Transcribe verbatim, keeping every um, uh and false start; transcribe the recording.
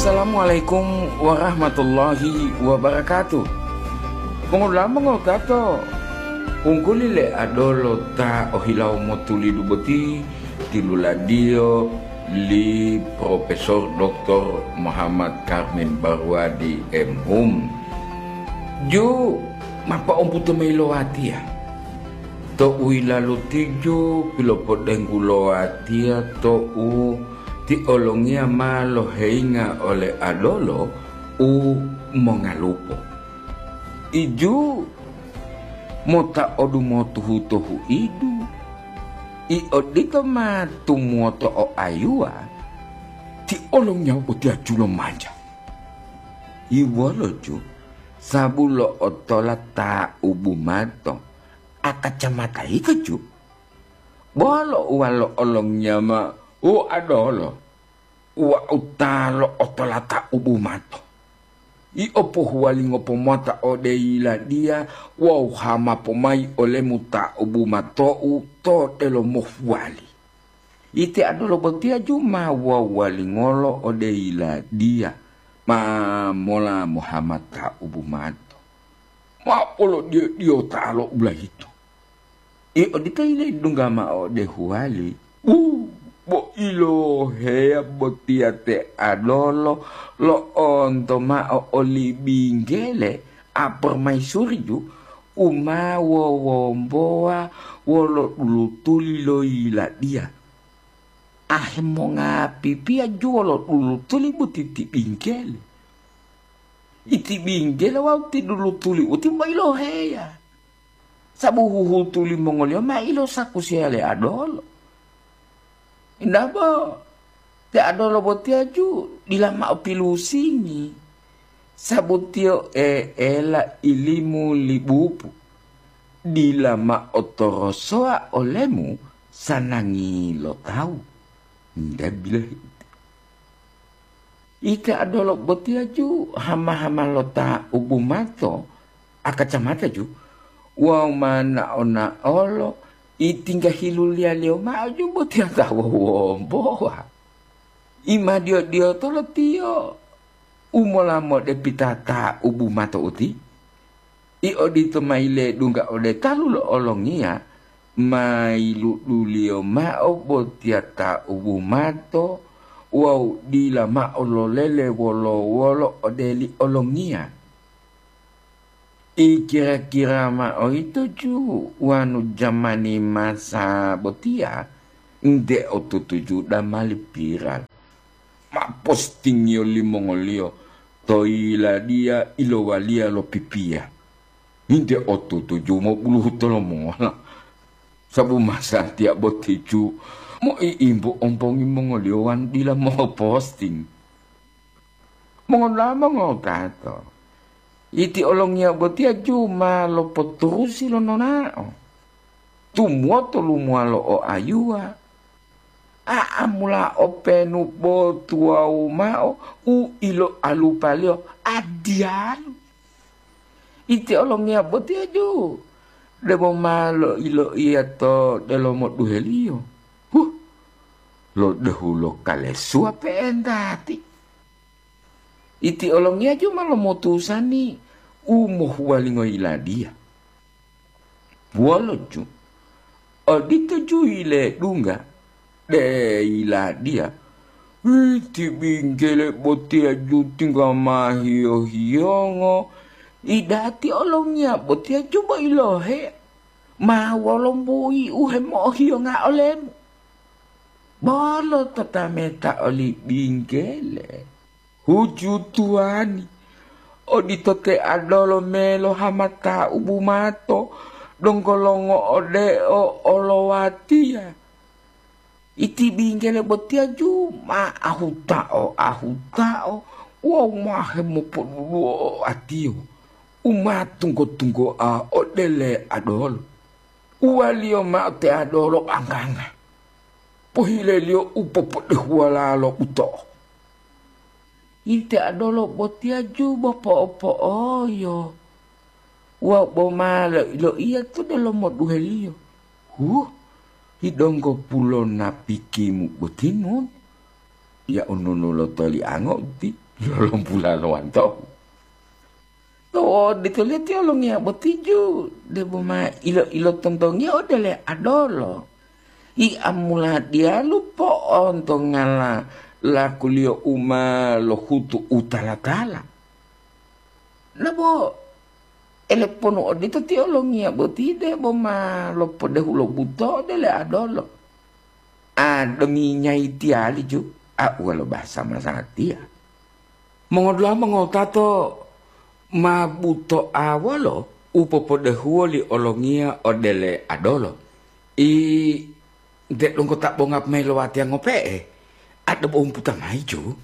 Assalamualaikum warahmatullahi wabarakatuh. Mongolama ngotato, ungguli le adolo ta ohilawo motulidu boti tiluladiyo li Profesor Doktor Muhammad Karmin Barwadi, M Hum. Ju mapa ombuto mayi lo watiya. To u yilalu tiju pilopodenggu lo watiya to u ti olongiya ma loheyinga ole adolo u mongalupo. Iju mota odumotuhu to huidu, i odito ma tumuwoto o ayuwa, ti olongiya botiya julo manja. Iwolo ju, sabu lo'otola ta ubumato, akacamata yito ju. Bolo uwa lo olongiya ma u adolo, uwa u ta lo'otola ta ubumato. Yio pohuwalingo pomota ode yiladiya wawu hama pomayi olemu ta ubumatou to delomo huwali. Ite adolo botiya ju ma wawalingolo ode yiladiya ma mola Muhammad ta ubumato. Ma polodiyo-diyota lo ulayito. I odito yiledungga mao ode huwali, bu, bo iloheya botiya te adolo lo'onto mao oli binggele apormaisuri ju u ma wowombowa wolo dulutuli lo yiladiya. Ahemongapipiya ju wolo dulutuli boti ti binggele. Iti binggele wawu ti dulutuli uti ma iloheya. Sabu huhutu limongoliyo ma ilosakusiya le adolo. Inabo, te adolo botiya ju dila mao pilusingi, sabu tiyo e'ela ilimu li bubu, dila mao torosowa olemu sanangi lo tawu. Nde bilohi uti. Ite adolo botiya ju hama-hama lo ta ubumato, akacamata ju, wawu ma nao-naolo itingga hiluliyaliyo mao ju botiya ta wowombowa. Imadiyo-diyotolo tiyo u mola modepita ta ubumato uti. I odito ma yiledungga ode talu lo olongiya, ma yiluduliyo mao botiya ta ubumato wawu dila mao lolele wolo-wolo ode li olongiya. I kira-kira mao yito ju wanu jamani masa botiya, nte otutu ju damali piral. Ma postingiyo limongoliyo to yiladiya ilowaliya lo pipiya. Nte otutu ju mobuluhu tolomola. Sabu masatiya boti ju moi'imbu ompongi mongoliyo wawu dila moposting. Mongodula'a mongotato, iti olongiya botiya ju ma lopoturusi lo nonao. Tumuwoto lumuwalo o ayuwa, a'amula openu bo tuwawu mao u iloalupaliyo adiyalu. Iti olongiya botiya ju debo ma loiloiya to delomo duheliyo. Huh, lodehu lo kalesuwa pe'entati. Iti olongiya ju ma lomutusani u mohuwalingo yiladiya. Wolo ju, odito ju yiledungga, de yiladiya, iti binggele botiya ju tingga ma hiyo-hiyongo, idati olongiya botiya ju bo ilohe, ma wolombui u hemo'ohiyonga olemu. Bolo totameta oli binggele. Huju tuwani, odito te adolo melo hamata u bumato, donggo longo'odeo olowatiya. Iti binggele botiya ju ma ahutao-ahutao wawu ma hemopoduluwo oatiyo, u ma tunggo-tunggoa odele adolo. Uwaliyo mao te adolo angga-angga, pohileliyo u popodehuwala lo buto'o. Ite adolo botiya ju bo po'o-po'oyo wawu bo ma loiloiya to delomo duheliyo, "Huh, hidonggo pulo napikimu boti nun? Yau nunu lo toliango uti." lolompula lo wantohu. To oditoliyo ti olongiya boti ju, debo ma ilo-ilotontongiya odele adolo. Iamula diyalu po'ontongala lakuliyo u ma lohutu u tala-tala. Nabo eleponu odito ti olongiya boti debo ma lopodehu lo buto odele adolo. A, dominyayi tiyali ju, a, uwa lo bahasa masatiya. Mongodula'a mongowutato ma buto'a wolo u popodehuwo li olongiya odele adolo. I, nte donggo ta bonga mayi lo watiya ngope'e, a, debo wumputa mayi ju.